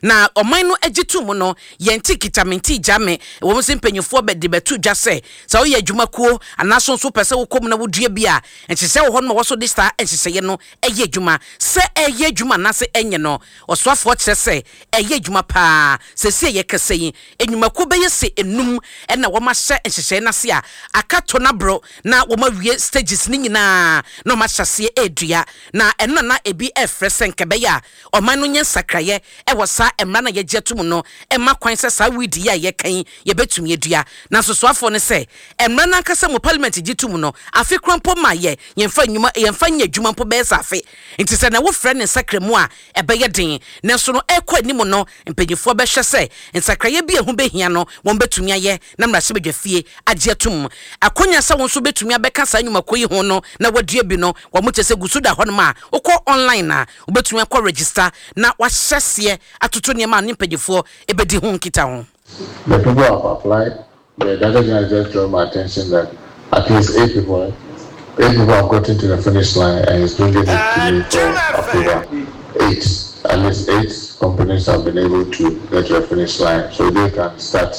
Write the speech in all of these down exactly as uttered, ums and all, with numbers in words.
Na ɔman no agye to mu no, yɛn ti kitamente gya me wɔn sɛ mpanyinfoɔ bɛde bɛto dwa sɛ sɛ woyɛ adwumakuo anaaso nso pɛ sɛ wokɔ mu na wodua bi a, nhyehyɛ wɔ hɔ no ma wɔso de saa nhyehyɛeɛ no ɛyɛ adwuma. Sɛ ɛyɛ adwuma anaasɛ ɛnyɛ no, ɔsoafoɔ kyerɛ sɛ ɛyɛ adwuma paa. Sɛsi a yɛkasa yi, nnwumakuo bɛyɛ sɛ enum ɛna wɔn ahyɛ nhyehyɛeɛ n'ase a aka to n'aboro na wɔn awie stages ne nyinaa na wɔn ahyɛ aseɛ ɛredua. Na ɛno na na ebi ɛrefrɛ sɛ nkɛbɛyɛ a ɔman no nyɛ nsakraeɛ ɛwɔ saa mmara na yɛgye ato mu no, ɛma kwan sɛ saa weed yi a yɛka yi yɛbɛtumi adua. Nanso soafoɔ no sɛ mmara no ankasa mu, Parliament gye to mu no, afe kora mpo ma yɛ yɛmfa nnwuma, yɛmfa nyɛ adwuma mpo bɛyɛ sɛ afe. Nti sɛ na wofrɛ ne nsakra mu a, ɛbɛyɛ den. Nanso no ɛkɔ anim no, mpanyinfoɔ bɛhwɛ sɛ nsakraeɛ bi a ɛho bɛhia no, wɔn bɛtumi ayɛ na mmarahyɛbadwa fie agye atom. Akonnwa sɛ wɔn nso bɛtumi abɛka saa nnwumakuo yi ho no na wadua bi no, wɔn kyɛ sɛ gu so da hɔnom a wokɔ online a wobɛtumi akɔ register na wahyɛ seɛ atoto nneɛma a ne mpanyinfoɔ ɛbɛdi ho nkita ho. The people have applied. The Director General just drew my attention that at least eight people, eight people have gotten to the finish line and he's bringing it to me for approval. Eight, at least eight companies have been able to get to the finish line so they can start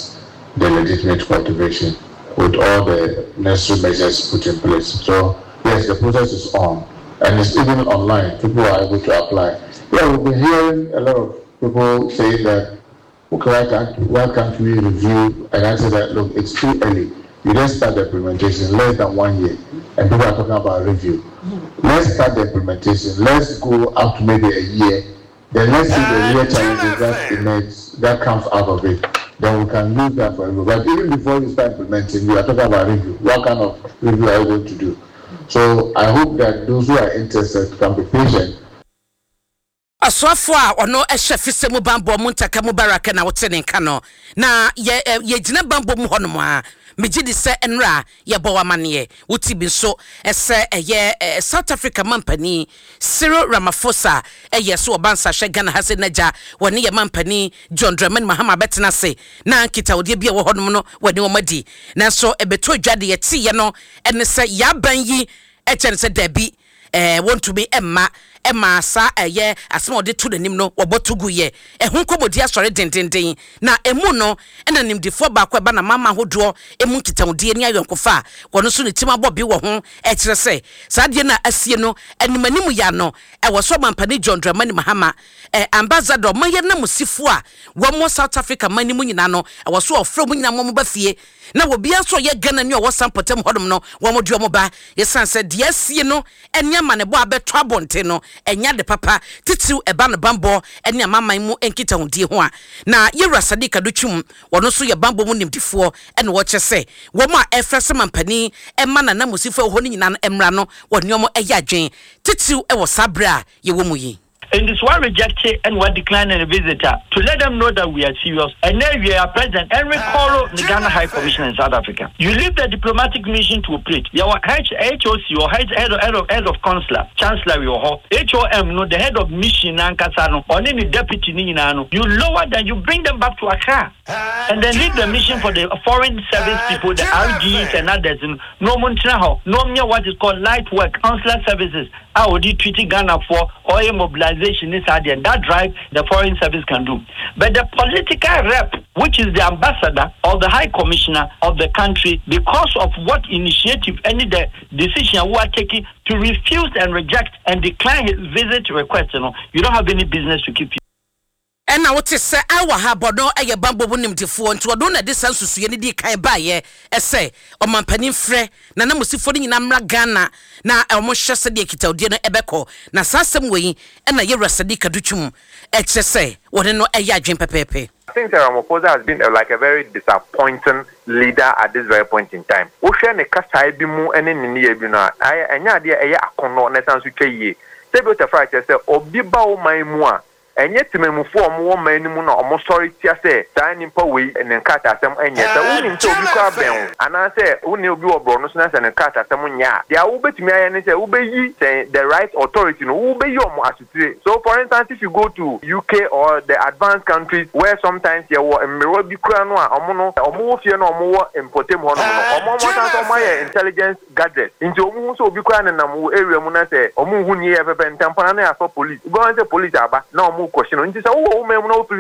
the legitimate cultivation with all the necessary measures put in place. So yes, the process is on and it's even online. People are able to apply. Yeah, we've been hearing a lot of people saying that, "Okay, why can't, why can't we review?" And I said that, look, it's too early. You just start the implementation less than one year, and people are talking about review. Let's start the implementation. Let's go up to maybe a year. Then let's see the real challenges that emerge, that comes out of it. Then we can use that for review. But even before you start implementing, you are talking about review. What kind of review are you going to do? So I hope that those who are interested can be patient. Ɔsoafoɔ a ɔno hyɛ fisɛ mu bambɔ mu, Muntaka Mubaraka, na wote ne nka no. Na yɛ yɛgyina bambɔ mu hɔnom a, megye di sɛ nnora yɛbɔ w'amanneɛ wote bi nso ɛsɛ ɛyɛ South Africa mampanin Cyril Ramaphosa ɛyɛ so ɔba nsahwɛ Ghana ha sɛ n'agya wɔne yɛ mampanin John Dramani Mahama bɛtena ase na nkitahodeɛ bi a ɛwɔ hɔnom no wɔne wɔn adi. Nanso ɛbɛtɔ dwa de yɛteeɛ no ɛne sɛ yɛaban yi ɛkyɛ no sɛ daabi, ɛɛ wɔntumi ɛmma ɛma saa ɛyɛ asɛm a ɔde to n'anim no wɔbɔ to gu yɛ. Ɛho nkɔmmɔdi asɔre dendenden na emu no ɛna nimdifoɔ baako ɛba na mama ahodoɔ emu nkitahodie ne ayɔnkofa a wɔn nso ne tim abɔ bi wɔ ho ɛkyerɛ sɛ saa adeɛ no a asie no anim anim yɛ ano ɛwɔ so ɔmampanin John Dramani Mahama ɛ ambassador ɔman yɛ namusifo a wɔn wɔ South Africa man no mu nyinaa no, ɛwɔ so ɔfrɛ mu nyinaa wɔn ba fie na obiara nso ɔyɛ Ghana ni a ɔwɔ sa mpɔtam hɔnom no, wɔn de wɔn ba, yɛsan sɛ deɛ asie no ɛne amanebɔ a bɛtɔ abɔnten no ɛnya de papa titiriw ɛba no bambɔ ɛne amaman mu nkitahodie ho a. Na yɛwura Sadiq Adutwum, wɔn nso yɛ bambɔ mu nimdifoɔ, ɛna wɔkyɛ sɛ wɔn a ɛfrɛ sɛ mampanin ɛma nanamusifo ɛwɔ hɔ no nyinaa no mmra no, wɔne wɔn ɛyɛ adwen titiriw ɛwɔ saa berɛ a yɛwɔ mu yi. And this one reject and what decline a visitor to let them know that we are serious. And then we are President Henry Coro, the Ghana High Commissioner in South Africa. You leave the diplomatic mission to operate. Your H HOC or head, head, of, head of head of consular, chancellor, your H O M no, the head of mission nankasa no, or any deputy ni no. You lower them, you bring them back to Accra. And then leave the mission for the foreign service people, the R Gs and others. No no what is called light work, consular services. A wɔde treat Ghana for oil mobilization is and that drive the foreign service can do. But the political rep, which is the ambassador or the high commissioner of the country, because of what initiative, any the decision we are taking to refuse and reject and decline his visit request, you know, you don't have any business to keep. Ɛna wote sɛ awa ha bɔdɔ ɛyɛ bambɔ mu nimdifoɔ, nti ɔdo na de saa nsusuiɛ no di kan baayɛ ɛsɛ ɔmampanin frɛ na namusifoɔ no nyinaa mmra Ghana na ɔmo hyɛ sɛdeɛ nkitahodie no ɛbɛkɔ. Na saa asɛm wɔ yi ɛna yɛwura Sadiq Adutwum ɛkyerɛ sɛ wɔne no ɛyɛ adwen pɛpɛɛpɛ. I think that Ramaphosa has been a, like a very disappointing leader at this very point in time. Wohwɛ ne kasae bi mu ne ne nneyɛ bi no a, ɛnyɛ adeɛ ɛyɛ akɔnnɔ na ɛsan so twa yie. Sɛbi otafra kyerɛ sɛ obi ba wo man mu a, ɛnyɛ temamufoɔ a wɔwɔ man no mu na wɔn sɔre tia sɛ saa nipa wei ne nkrataasɛm nyɛ. Sɛ wonim sɛ obi kɔ abɛn wo anaasɛ wo ne obi wɔ borɔ so na sɛ ne nkrataasɛm nyɛ a, deɛ wobɛtumi ayɛ ne sɛ wobɛyi sɛ the right authority no, wobɛyi ɔmo asotire. So for instance, if you go to U K or the advanced countries where sometimes yɛwɔ mmerewa bi kura no a ɔmo no ɔmo wɔ fie no, ɔmo wɔ mpɔtam hɔ nom no, ɔmo ɔmo san so ɔmo ayɛ intelligence gadget, nti ɔmo hu sɛ obi kura nenam wɔ area mu na sɛ ɔmo hu nie yɛ pɛpɛ ntɛmpɔn na yɛafɔ police, wobɛhu sɛ police aba na ɔmo kɔhye no. Nti sɛ wowɔ wo man mu na wo feel